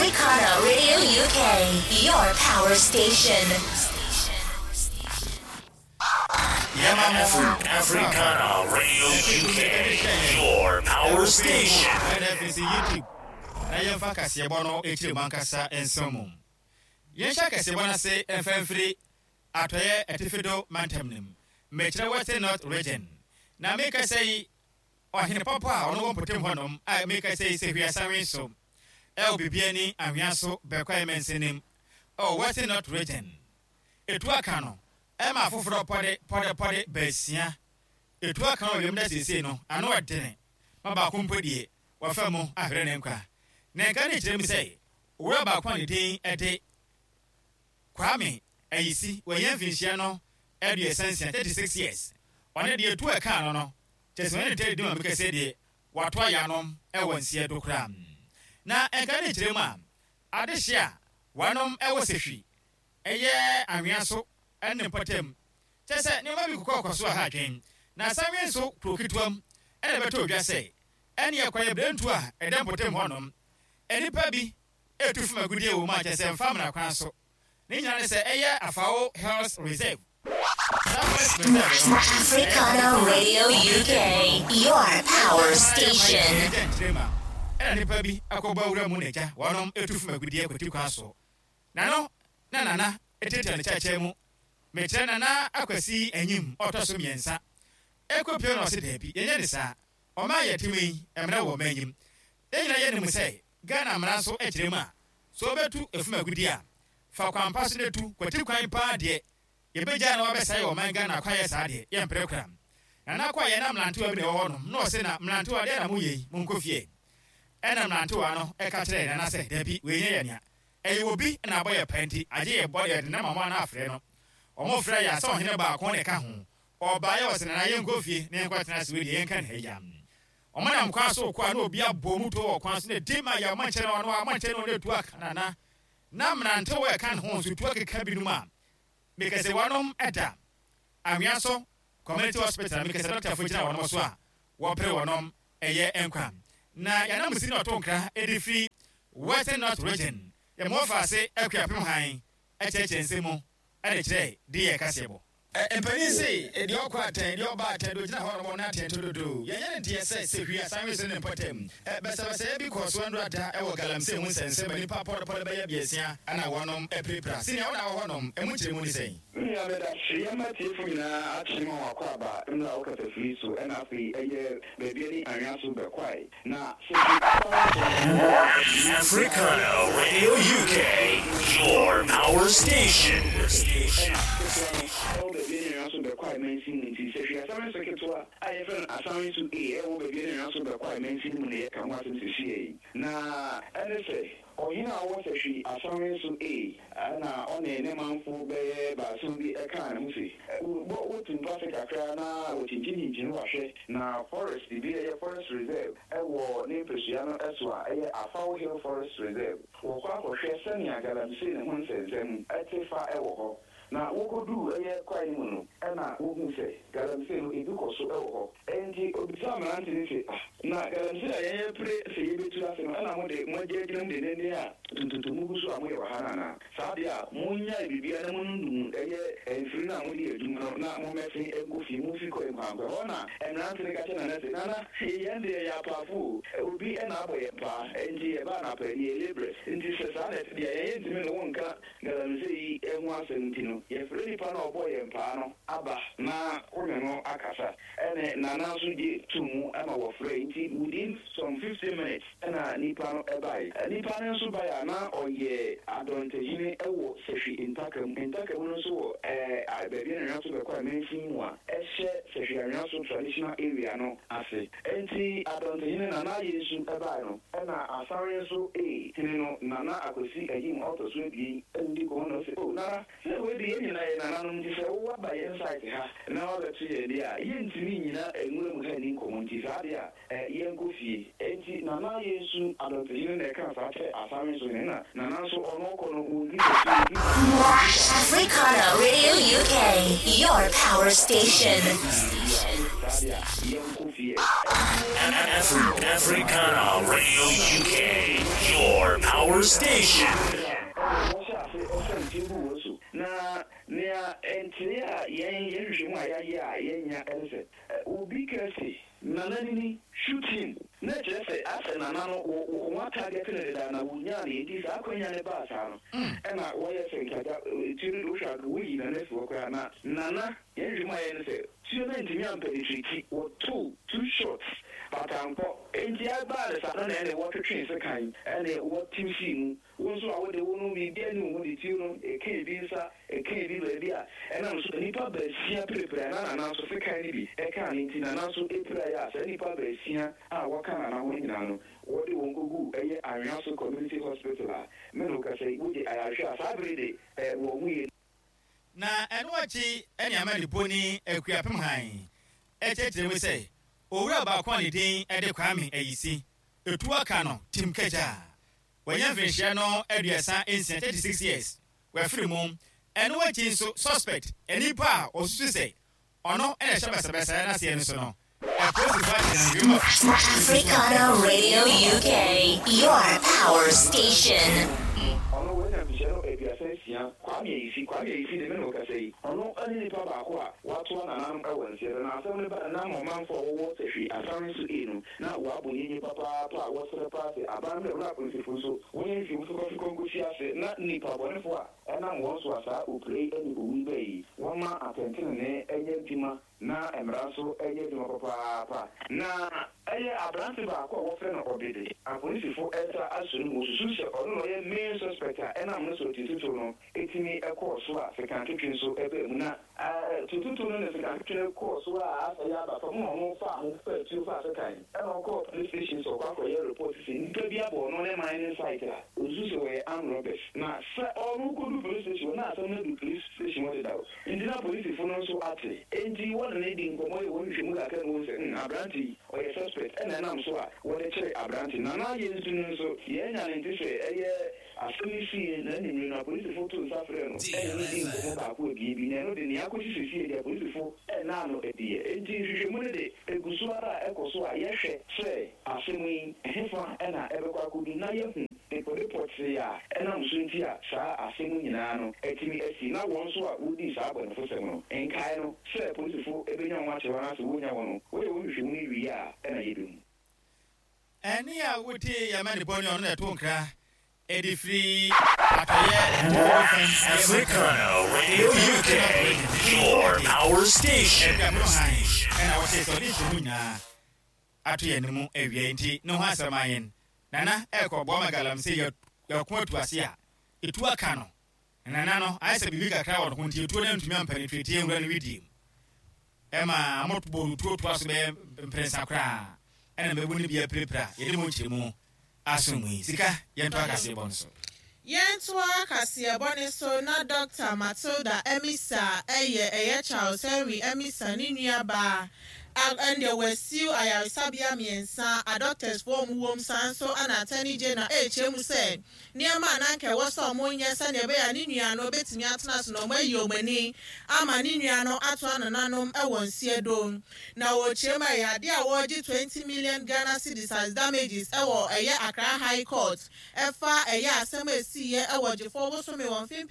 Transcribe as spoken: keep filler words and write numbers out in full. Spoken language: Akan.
Africana Radio U K, your power station. Afri- Africana Radio U K, your power station. Ɛna afei sɛ YouTube na yɛmfa kaseɛbɔ no akyire mu ankasa nsɛm mu. Yɛnhyɛ kaseɛbɔ no ase mfa mfiri atɔeɛ atifido mantam no mu, mekyerɛ Western North Region. Na meka sɛ yi, ɔhene pɔpɔ a ɔno wɔ mpɔtam hɔnom a meka sɛ yi sɛ hwiasawe so ɛwɔ Bibiani Anwea so Bɛkwae mansinim ɛwɔ Western North Region, ɛtu aka no ɛma afoforɔ pɔde pɔde pɔde baasia. Ɛtu aka wɔ wiem da seesei no ano ɛdene ma baako mpo deɛ wafa mu ahwere ne nkwa. Na nka ne kyerɛ mu sɛ owura baako a ne din ɛde Kwame Ayisi, wɔnyɛ mfinhyia no aduasa nsia, thirty-six years, ɔne deɛ tu ɛka no no kyerɛ sɛ ɔne ne tɛdi di ma meka sɛ deɛ wato ayanom ɛwɔ nseɛ do koraa. Na nka ne kyerɛ mu a adehye a wɔnom ɛwɔ Sehwi ɛyɛ Anwea so ɛne mpɔtam kyerɛ sɛ nneɛma bi kokɔ kɔ so a ha adwen. Na Sanwe nso kuro ketewa mu ɛna ɛbɛtɔ odwa sɛ ɛne ɛkɔyɛ berentu a ɛda mpɔtam hɔnom, nnipa bi etu fam agudie wɔ mu a kyerɛ sɛ mfa mmara kwan so. Ne nyinaa ne sɛ ɛyɛ Afao Health Reserve, saa forest reserve no. Africana Radio U K, your power station. Ɛgya nkyerɛ mu a ɛna nnipa bi akɔbɔ awura mu na agya wɔnom etu fam agudie kwati kwan so na no na nana etiatia ne kyɛkyɛ mu, mekyerɛ Nana Akwasi Anyim ɔtɔ so mmiɛnsa ɛkɔ pie na ɔse daabi, yɛnyɛ ne saa. Ɔma yɛ tumi yi mmara wɔ ɔma anim. Yɛn nyinaa yɛnim sɛ Ghana mmara nso kyerɛ mu a sɛ wobɛtu efum agudie a, fa kwan pa so na tu kwati kwan paa deɛ yɛbɛgya na wabɛsɛe ɔman Ghana kwayɛ. Saa deɛ yɛmpere kora. Nana kɔ a yɛna mmerantewa bi na ɛwɔ hɔnom na ɔse, "Na mmerantewa deɛ na moyɛ yi, monkɔ fie." Ɛna mmerantewa no ɛka kyerɛɛ Nana sɛ dabi, wei nyɛ yɛ nea ɛyɛ obi na abɔ yɛ pa nti agye yɛ bɔ yɛde nam ɔmo ana afrɛ no. Ɔmo frɛ yɛ sɛ ɔhene baako ne ka ho ɔbaeɛ wɔ sɛ, "Nana, yɛnkɔ fie na yɛnkɔ tena ase, wei deɛ yɛnka ne ha yi." Ɔmo nam kwan so kɔ a na obi abɔ mu to wɔ kwan so na di ma yɛ ɔmo nkyɛn no ɔno ɔmo nkyɛn no ɔno etu aka Nana na mmerantewa ɛka ne ho nso tu akeka binom a mekɛsɛ wɔnom ɛda Anwea so Community Hospital. Mekɛsɛ dɔktafo gyina wɔnom so a wɔpere wɔnom ɛyɛ nkwa. Na yɛnam si na ɔto nkra ɛde firi Western North Region, yɛmɔ ase Akuapem han ɛkyerɛkyerɛ nsɛm mu ɛde kyerɛ de yɛ kaseɛ bɔ. Mpanin se deɛ ɔkɔ atɛn, deɛ ɔba atɛn, deɛ ogyina hɔ nom na atɛn to dodo. Yɛnyɛ ne nteɛ sɛ sɛ hwi asanwe so ne mpɔtam bɛsɛbɛsɛeɛ bi kɔɔ so ɛndora da ɛwɔ galamsey ho nsɛnsɛm a nnipa pɔdepɔde bɛyɛ biasia ɛna wɔnom apirapira. Sɛnea wona wɔ hɔnom, ɛmu nkyerɛmu ne sɛn? Nua, meda hwee yɛma tiefo nyinaa akye ma wakɔ aba mmerɛ a wokasa firi so. Ɛna afei ɛyɛ Bibiani Anwea so Bɛkwae na sɛ Africana Radio U K, your power station. Ɛna ketewa no ɛwɔ Bibiani Anwea so Bɛkwae mansin mu. Nti sɛ hwee asɛm so ketewa a yɛfrɛ no Asanwe so A ɛwɔ Bibiani Anwea so Bɛkwae mansin mu na yɛka ho asɛm sesie yi. Na ɛne sɛ ɔhene a ɔwɔ Sɛhwi Asanwe so A ɛna ɔne ne manfo bɛyɛ baason bi ɛkaa ne ho se bɔ wotu mpase kakra na wɔkyinkyinkyinkyini wahwɛ na forest bi ɛyɛ forest reserve ɛwɔ ne mpasua no ɛso a ɛyɛ Afaw Hill Forest Reserve. Wɔkɔ akɔhwɛ sɛnea galamsey ne ho nsɛnsɛm ɛte fa ɛwɔ hɔ. Na wɔkɔduu ɛyɛ kwae no mu no, ɛna wohu sɛ galamsey no ebi kɔ so ɛwɔ hɔ. Ɛnti obisa mmerante no sɛ, "Ah, na galamsey a yɛyɛ pere sɛ yɛbɛtu ase no, ɛna mode moagye agyina mu dendenden a tuntuntum gu so a moyɛ wɔ ha no anaa? Saa deɛ a monnyae biribia na monundum ɛyɛ mfiri no a mode yɛ adwuma no na mommɛse nkɔ fie, momfi kɔ nkwankwa hɔ." Na mmerante no ka kyerɛ Nana sɛ, "Nana, yɛn deɛ yɛ apaafo o, obi ɛna abɔ yɛn paa, ɛnti yɛbaa no apani yɛ labourers. Nti sɛ saa na ɛte deɛ, yɛn yɛntumi ne wo nka galamsey yi ho asɛm. Nti no yɛfrɛ nipa no a ɔbɔ yɛn paa no aba na wo ne no akasa." Ɛne Nana nso gye to mu ama wɔfrɛ. Nti within some fifteen minutes ɛna nipa no ɛbae. Nipa no nso bae a na ɔyɛ adɔntehene ɛwɔ Sɛhwi Ntaka mu. Ntaka mu no nso wɔ ɛɛ baabi a Anwea so Bɛkɔ a mansin mu a ɛhyɛ Sɛhwi Anwea so Traditional Area no ase. Nti adɔntehene Nana ayɛ nsu ɛbae no, ɛna Asare nso ee hene no Nana Akwasi Ayim ɔtɔ so abien ɛna di kɔn na ɔsɛ, "O Nana, sɛ wei de yɛn nyinaa yɛ nananom, nti sɛ wowɔ aba yɛn site ha na wabɛto yɛn deɛ a, yɛntumi nyina nwura mu ha ni nkɔmmɔ. Nti saa deɛ a yɛnkɔ fie." Enti Nana yɛ nsu adɔntehene na ɛka saa kyerɛ Asare nso hene na Nana nso ɔno ɔkɔ no wɔndi n'akyi. Africana Radio U K, your power station. Saa deɛ a yɛnkɔ fie. Afri- Africana Radio U K, Your power station. Wɔhyɛ ase ɛsɛ ntie gu wɔ so na nea ntere a yɛn yɛn hwehwɛ mu a yɛayɛ a yɛnya ɛne sɛ obi kɛse Nana nini, shoot him, na kyerɛ sɛ asɛ Nana no wɔn atarget no deda na wɔnyaa no. Nti saa akɔnya ne baa saa no, ɛna wɔyɛ sɛ nkagya tuo no de wohwɛ a woyi Nana fi hɔ koraa. Na Nana, yɛn hwehwɛ mu a yɛn no sɛ tuo no ntumi ampenetrate. Wɔtoo two shots but ankɔ. Nti ɛbaa ne saa no na ɛne wɔtwetwe sekan ɛne wɔtew sii mu. Wo nso a wode wo no biribi ani wo ho de tuo no ɛka ebi nsa, ɛka ebi baabi a ɛnam so nipa baasia pirepire na Nana nso sekan no bi ɛka ne. Nti Nana nso epira yɛ a saa nipa baasia a wɔka Nana ho nyinaa no, wɔde wɔn kogu ɛyɛ Anhwea Community Hospital a mene kasa yi wogye ayarehwɛ a saa bere de ɛ wɔn ho yɛ. Na ɛno akyi ɛne ama ne boni Akuapem Han ɛkyerɛkyerɛ mu sɛ owura baako a ne din ɛde Kwame Ayisi etu aka no tim kagya wɔnyɛ mfinhyia no aduasa nsia, thirty six years, wɔafiri mu. Ɛno akyi nso, suspect, nipa a ɔsusu sɛ ɔno ɛna ɛhyɛ basabasa n'aseɛ no so no, apolisifoɔ akyerɛ no. Africana Radio U K, your power station. Ɔno wɔanya mfihyia no aduasa nsia, Kwame Ayisi. Kwame Ayisi de me ne ɔkasa yi, ɔno ne nipa baako a watoa nananom ɛwɔ nseɛ no. Na asɛm no ba nam ɔmanfo a wɔwɔ Sɛhwi Asare nso e no na wɔabɔ yɛnyi papaapa a wɔsrɛ paa sɛ aban no awura apolisifo nso wɔnyɛ nhwɛmu fikɔfikɔ nkɔsi ase na nipa bɔnefo a ɛnam wɔn so a saa opire yi ne owu yi bɛyi yi, wɔma atɛntenene ɛnyɛ adwuma na mmara nso ɛnyɛ adwuma papaapa. Na ɛyɛ aberante baako a wɔfrɛ no Ɔbede, apolisifo ɛsa aso no mu, wɔsusu sɛ ɔno na ɔyɛ main suspect a ɛnam no so tututu no ɛtumi ɛkɔɔ so a sekantwetwe nso ɛbaa mu. Na tututu no ne sekantwetwe no kɔɔ so a asɛ yɛ aba fam na ɔno fa ho fa tuo fa sekan ɛna ɔkɔɔ police station sɛ ɔkɔ akɔyɛ report sɛ nnipa bi abɔ ɔno ne mine site a ɔsusu sɛ wɔyɛ armed robbers. Na sɛ ɔno kɔdu police station hɔ na asɛm no adu police station hɔ dedaw, nti na polisifo no nso ate, enti wɔne ne di nkɔmmɔ yɛ wɔn nhwehwɛmu kakra na wɔn sɛ mm aberante yi ɔyɛ suspect, ɛna ɛnam so a wɔde kyerɛ aberante. Na na yɛn nso no nso yɛnya ne nte sɛ ɛyɛ asɛm yi sii na anwummere no apolisifo to nsa frɛ no ɛne ne di nkɔmmɔ baako abien bi, na ɛno de nea akɔsi sesie deɛ, apolisifo ɛnaa no adiɛ. Enti nhwehwɛmu no de egu so ara a ɛkɔ so a yɛhwɛ sɛ asɛm yi ɛhefa ɛna ɛbɛkɔ akɔdu na yɛhu dekode pɔtee a ɛnam so nti a saa asɛm nyinaa no atumi asi, na wɔn nso a wodii saa abɔnefosɛm no nkae no sɛ polisifo ebenya wɔn akyerɛ wɔn ase wonya wɔn no, wɔyɛ wɔn nhwehwɛmu no wie a ɛna yɛbɛhu. Ɛne a wotie yɛma ne bɔne, ɔno na ɛto nkra ɛde firi atɔyɛ. Africana Radio U K, your power station. Ɛna wɔte sɛ ɔde nhyɛmu nyinaa ato yɛn no mu awia, nti ne ho asɛm ayɛn Nana ɛkɔboa ma galamsey yɛko atu ase a ɛtu aka no. Nana no ayɛ sɛ biribi kakra wɔ ne ho, nti ɛtuo no ntumi ampenetrate nwura no widie mu ɛma motobɔ no tuo toa so bɛyɛ mprɛnsa koraa ɛna mɛbu no bi apirapira. Yɛde mu nkyerɛmu aso mu yi sika, yɛnto akaseɛ bɔ no so. Yɛntoa kaseɛbɔ ne so na Doctor Matilda Amissah, ɛyɛ ɛyɛ Charles Henry Amissah ne nuabaa, ɛndeɛ wɔasue ayaresabea mmiɛnsa a doctorsfoɔ mu wɔm. Saa nso ana Attorney General ɛrekyerɛ mu sɛ nneɛma a nanka ɛwɔ sɛ ɔmo nyɛ sɛnea ɛbɛyɛ a ne nua no bɛtumi atena so na ɔmo ayi ɔmo ani ama ne nua no ato anananom ɛwɔ nseɛ do. Na wɔrekyerɛ mu a ɛyɛ adeɛ a wɔregye twenty million Ghana cedis as damages ɛwɔ ɛyɛ Accra High Court ɛfa ɛyɛ asɛm a esiiɛ ɛwɔ Gyefoɔ bosome wɔn mfe